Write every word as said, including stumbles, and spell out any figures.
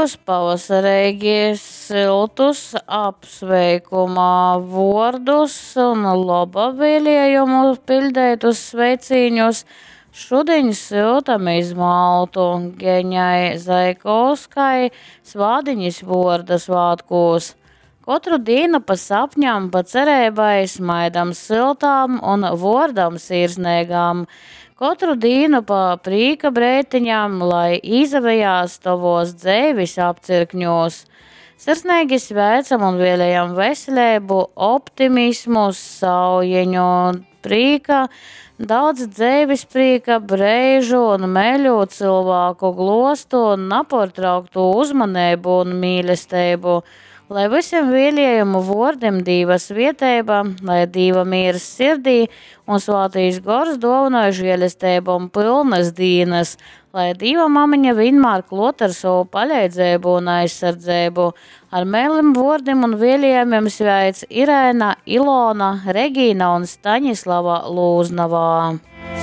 Pavasareigi syltus apsveikuma vuordus un loba vēlējumu piļdeitus sveicīņus šudiņ syutam iz Maltu Geņai Zaikovskai Svādiņas vuorda svātkūs. Kotru dīnu pa sapņam, pa cereibai, smaidam syltām un vuordam sirsneigām. Kotru dīnu pa prīka breiteņam, lai īsavejās tovos dzeivis apcirkņos. Sirsneigi sveicam un vēlējam veseleibu, optimismu, saujeņu, prīka, daudz dzeivis prīka, breižu un meļu cylvāku glostu un naportrauktu uzmaneibu un mīlesteibu. Lai visiem vēlējumu vuordim Dīva svieteiba, lai Dīva mīrs sirdī un svātīs gors dōvynoj žēlesteibom pylnas dīnas, lai Dīva mamiņa vienmēr klot ar savu paleidzeibu un aizsardzeibu. Ar mēlim vuordim un vēlējumiem sveic Irēna, Ilona, Regīna un Staņislava Lūznavā.